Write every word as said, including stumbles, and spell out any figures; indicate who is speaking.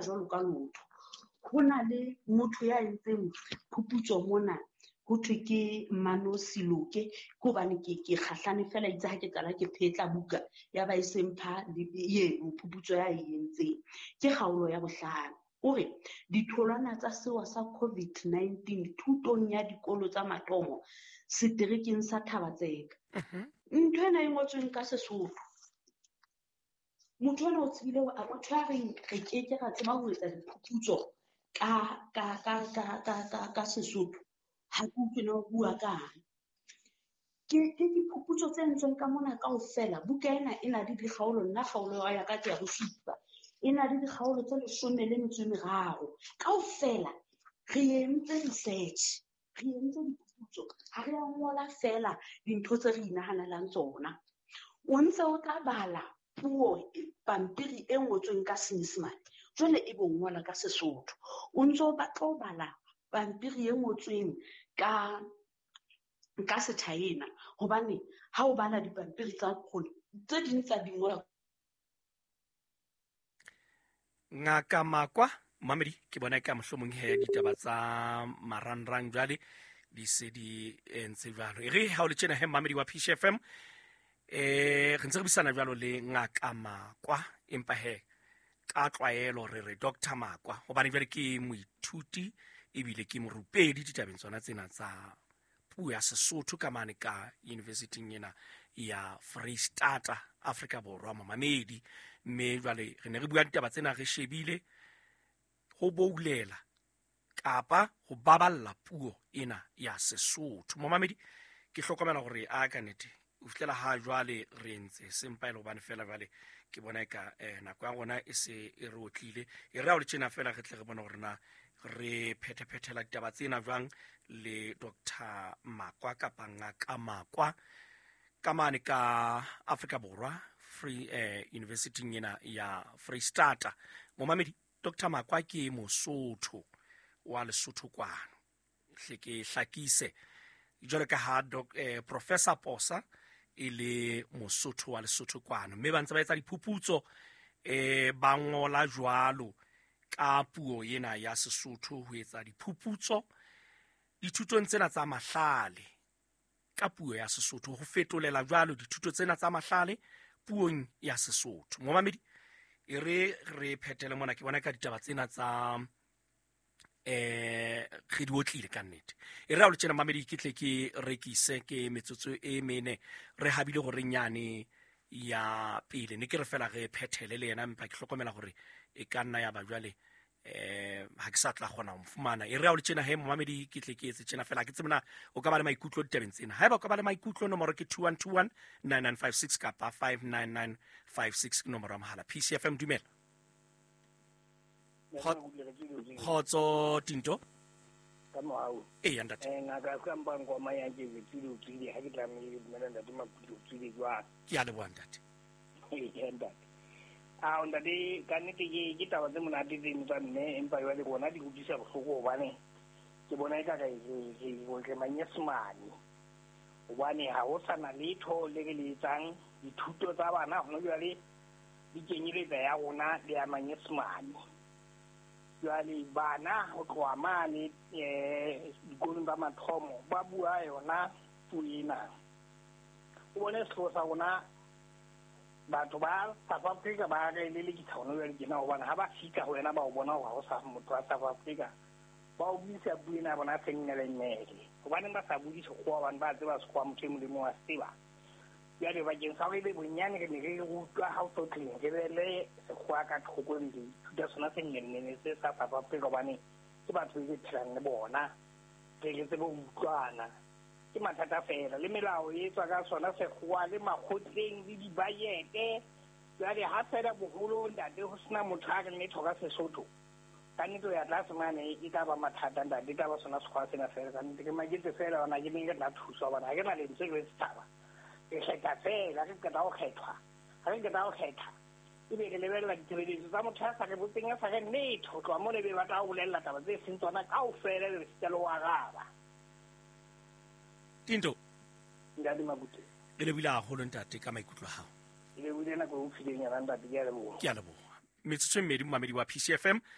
Speaker 1: jwalo ka lotho. Ho na le motho ya entseng phuputso mona, ho thwe ke Mano Siloke, ke hobane ke ke kgahlane fela itse ha ke qala ke phetla buka ya ba e sempha eno phuputso ya e entseng. Ke kgaolo ya bohlano. O re ditholwana tsa sewa sa COVID nineteen thutong ya dikolo tsa mathomo seterekeng sa Thaba-Tseka. Ntho ena e ngotsweng ka Sesotho. Motho ena o tsebile hore a motho a reng re ke ke ra tseba ho etsa diphuputso ka ka ka ka ka ka ka Sesotho. Ha ke utlwe na o bua kang. Ke ke diphuputso tse entsweng ka mona kaofela. Buka ena e na le dikgaolo, nna kgaolo ya ka ke ya bosupa. E na le dikgaolo tse leshome le metso e meraro. Kaofela re entse research, re entse diphuputso. Ha re a ngola feela dintho tse re inahanelang tsona. O ntse o tla bala puo pampiri e ngotsweng ka Senyesemane, jwale e bo ngola ka Sesotho. O ntse o batla ho bala pampiri e ngotsweng ka ka Sechina, hobane ha o bala dipampiri tsa rona tse ding tsa di ngola.
Speaker 2: Ngaka Makwa Mamedi, ke bona ka mohlomong he ditaba tsa marangrang jwale di se di entse jwalo. E re ha o le tjena he Mamedi wa P C F M, eh re ntse re buisana jwalo le Ngaka Makwa, empa he ka tlwaelo re re Doctor Makwa, hobane jwale ke moithuti ebile ke morupedi ditabeng tsona tsena tsa puo ya Sesotho ka mane ka university ena ya Freistata Afrika Borwa Mamedi. Mme jwale re ne re bua ditaba tsena re shebile ho boulela kapa ho baballa puo ena ya Sesotho. Momamedi, ke hlokomela hore a ka nnete o fihlela ha jwale re entse sempa e le hobane fela jwale ke bona eka, eh, nako ya rona e se e re otlile. E re ha o le tjena fela re tle re bone hore na re phethephethela ditaba tsena jwang le Doctor Makwa kapa Ngaka Makwa ka mane ka Afrika Borwa Free, eh, University ena ya Freistata. Momamedi, Doctor Makwa ke Mosotho wa Lesotho kwano. Hle ke hlakise jwalo ka ha doc, eh, Professor Posa e le Mosotho wa Lesotho kwano, mme ba ntse ba etsa diphuputso, eh, ba ngola jwalo ka puo ena ya Sesotho ho etsa diphuputso dithutong tsena tsa mahlale ka puo ya Sesotho, ho fetolela jwalo dithuto tsena tsa mahlale puong ya Sesotho. Momamedi, e re re phethele mona, ke bona ka ditaba tsena tsa, eh, re di otlile ka nnete. E re ha o le tjena mamedi, ke tle ke rekise ke metsotso e mene re habile hore nyane ya pele ne ke re fela re phethele le yena, empa ke hlokomela hore e ka nna ya ba jwale, eh, ha ke sa tla kgona ho mo fumana. E re ha o le tjena he momamedi, ke tle ke etse tjena fela, ke tsebe na o ka ba le maikutlo ditabeng tsena. Haeba o ka ba le maikutlo, nomoro ke two one two one nine nine five six kapa five nine nine five six ke nomoro ya mohala. P C F M, dumela. Kgotso Tinto.
Speaker 3: Ka mohau.
Speaker 2: Ee, ntate.
Speaker 3: Eh, ngaka ka mpang kwa maya ke ke tsile o tsile, ha ke tlamehile dumela ntate Makuti o tsile jwang.
Speaker 2: Ke a leboha ntate.
Speaker 3: Ee, ntate. Ah, ntate, ka nnete ke, ke taba tse monate tseno tsa mme, empa jwale rona di utlwisa bohloko hobane ke bona eka re, re, re, re manyesemane. Hobane ha ho sa na letho le re le etsang, dithuto tsa bana hona jwale di kenyeletsa ya rona le ya manyesemane. Jwale bana ho tloha mane, eh, dikolong tsa mathomo ba bua yona puo ena. O bone sehlooho sa rona, batho ba South Africa ba re lelekisa hona jwale tjena, hobane ha ba fihla ho wena ba o bona hore ha o sa motho wa South Africa, ba o buisa puo ena ya bona senngele-nngele. Hobaneng ba sa bue Sekgowa? Hobane ba tseba Sekgowa, motho e mong le mong wa se tseba. Jwale bakeng sa hore ebe bonyane re ne re rutwa ha o so tleng, re be le Sekgowa ka thoko, re ithuta sona senngele-nngele se sa South Africa, hobane ke batho be re phelang le bona, re re tsebe ho utlwana. Ke mathata fela, le melao e etswa ka sona Sekgowa, le makgotleng, le dibajete. Jwale ha fela boholo ntate ho sena motho a re letho ka Sesotho, ka nnete ho ya tlase mane e tla ba mathata ntate, e tla ba sona Sekgowa sena fela. Ka nnete ke maketse fela hobane ha ke ne ke tla thuswa, hobane ha ke na lentswe le setjhaba. Re kgetha fela, re qeta ho kgethwa. Ha re qeta ho kgetha, ebe re lebella ditshebeletso tsa motho ya sa re botseng, ya sa re letho. Ho tloha mona ebe ba tla o bolella taba tse seng tsona kaofela, ebe re sita le ho araba.
Speaker 2: Tinto.
Speaker 3: Ntate Makuti.
Speaker 2: Re lebohile haholo ntate ka maikutlo a hao.
Speaker 3: Re lebohile nako e o fileng yona ntate, ke a leboha.
Speaker 2: Ke a leboha. Metsotso e mmedi, momamedi wa P C F M.